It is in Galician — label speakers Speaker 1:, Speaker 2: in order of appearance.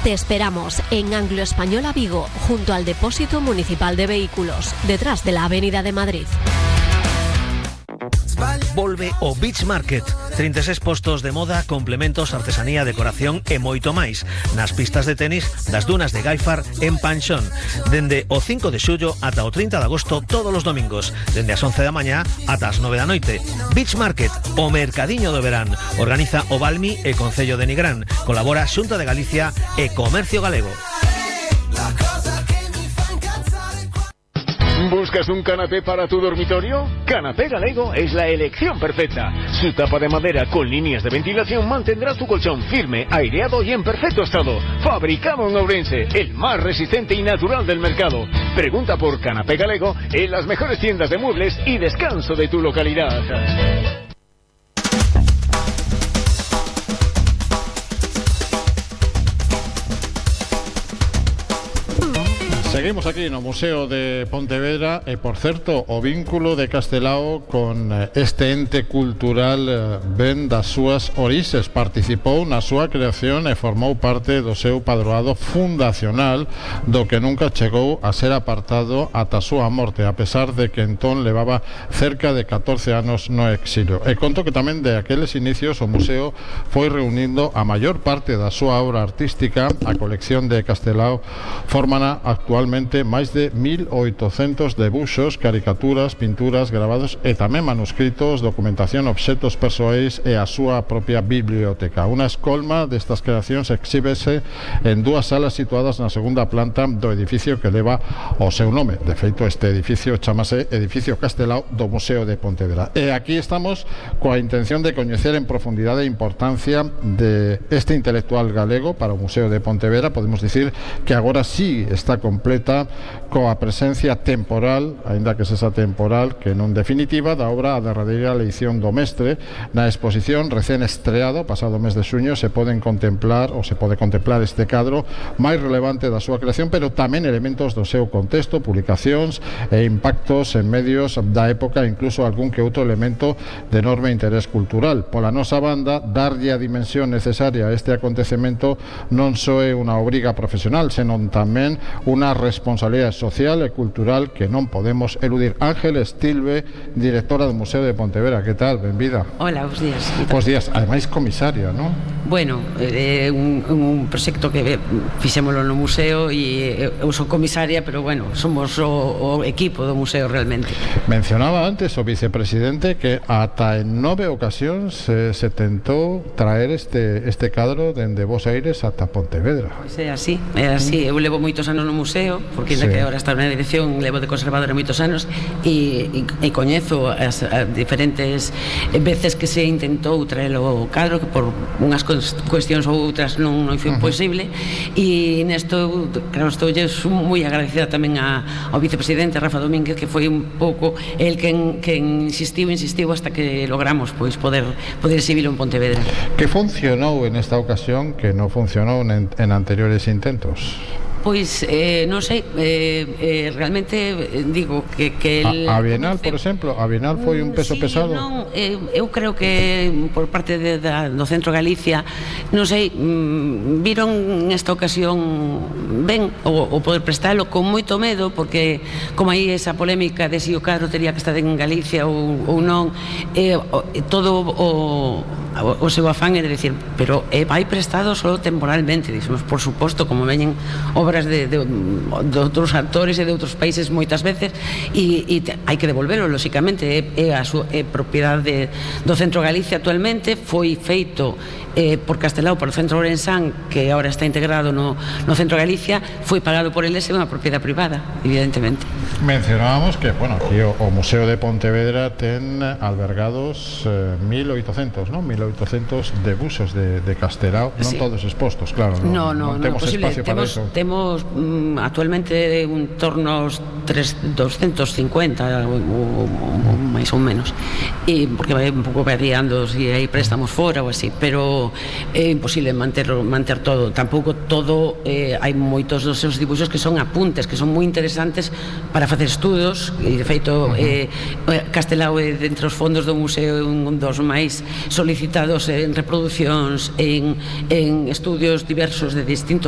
Speaker 1: Te esperamos en Anglo Española Vigo, junto al Depósito Municipal de Vehículos, detrás de la Avenida de Madrid.
Speaker 2: Volve o Beach Market, 36 postos de moda, complementos, artesanía, decoración e moito máis nas pistas de tenis das dunas de Gaifar en Panxón, dende o 5 de xullo ata o 30 de agosto todos os domingos, dende as 11 da mañá ata as 9 da noite. Beach Market, o mercadiño do verán, organiza o Balmi e Concello de Nigrán, colabora Xunta de Galicia e Comercio Galego.
Speaker 3: ¿Buscas un canapé para tu dormitorio? Canapé Galego es la elección perfecta. Su tapa de madera con líneas de ventilación mantendrá tu colchón firme, aireado y en perfecto estado. Fabricado en Ourense, el más resistente y natural del mercado. Pregunta por Canapé Galego en las mejores tiendas de muebles y descanso de tu localidad.
Speaker 4: Seguimos aquí no Museo de Pontevedra e, por certo, o vínculo de Castelao con este ente cultural ben das súas orixes. Participou na súa creación e formou parte do seu padroado fundacional, do que nunca chegou a ser apartado ata a súa morte, a pesar de que entón levaba cerca de 14 anos no exilio. E conto que tamén de aqueles inicios o museo foi reunindo a maior parte da súa obra artística. A colección de Castelao formana actualmente máis de 1.800 debuxos, caricaturas, pinturas, grabados e tamén manuscritos, documentación, obxetos persoais e a súa propia biblioteca. Unha escolma destas creacións exhíbese en dúas salas situadas na segunda planta do edificio que leva o seu nome. De feito, este edificio chamase Edificio Castelao do Museo de Pontevedra. E aquí estamos coa intención de coñecer en profundidade a importancia de este intelectual galego para o Museo de Pontevedra. Podemos dicir que agora sí está completa coa presencia temporal, aínda que sexa temporal, que non definitiva, da obra A derradeira leición do mestre. Na exposición recén estreado pasado mes de xuño se pode contemplar este cadro máis relevante da súa creación, pero tamén elementos do seu contexto, publicacións e impactos en medios da época, incluso algún que outro elemento de enorme interés cultural. Pola nosa banda, darlle a dimensión necesaria a este acontecemento non só é unha obriga profesional, senón tamén unha responsabilidade social e cultural que non podemos eludir. Ángel Estilve, directora do Museo de Pontevedra, que tal? Benvida.
Speaker 5: Hola, bos días.
Speaker 4: Bos días, ademais comisaria, non?
Speaker 5: Bueno, é un proxecto que fixémolo no museo e eu son comisaria, pero bueno, somos o equipo do museo realmente.
Speaker 4: Mencionaba antes o vicepresidente que ata en 9 ocasións se tentou traer este cadro dende Bos Aires ata Pontevedra.
Speaker 5: Pois é así. Eu levo moitos anos no museo, porque ainda que agora está na dirección, levo de conservadora moitos anos e coñezo as diferentes veces que se intentou traelo o cadro, que por unhas cuestións ou outras non foi posible, e nesto, claro, estou moi agradecida tamén ao vicepresidente Rafa Domínguez, que foi un pouco el quen insistiu hasta que logramos poder exhibilo en Pontevedra.
Speaker 4: Que funcionou en esta ocasión que non funcionou en anteriores intentos?
Speaker 5: Pois, non sei, realmente digo que
Speaker 4: a Bienal, por exemplo, a Bienal foi un peso pesado?
Speaker 5: Non, eu creo que por parte do Centro Galicia, non sei, viron nesta ocasión ben o poder prestalo con moito medo, porque como aí esa polémica de si o cadro tería que estar en Galicia ou non, todo o seu afán é de decir, pero vai prestado só temporalmente. Dixemos, por suposto, como veñen obras de outros actores e de outros países moitas veces, e hai que devolverlo, lóxicamente. É propiedade do Centro Galicia actualmente, foi feito por Castelao, por o Centro Ourensán, que agora está integrado no Centro Galicia, foi pagado por eles, é unha propiedade privada, evidentemente.
Speaker 4: Mencionábamos que, bueno, aquí o Museo de Pontevedra ten albergados 1.800, non? 1.800 debuxos de Castelao, non todos expostos, claro, non temos espacio para iso.
Speaker 5: Temos actualmente un torno aos 250 ou máis ou menos, porque vai un pouco variando se hai préstamos fora ou así, pero é imposible manter todo. Tampouco todo, hai moitos dos seus dibuxos que son apuntes, que son moi interesantes para facer estudos, e de feito Castelao é entre os fondos do museo un dos máis solicitados en reproducións, en estudios diversos de distintos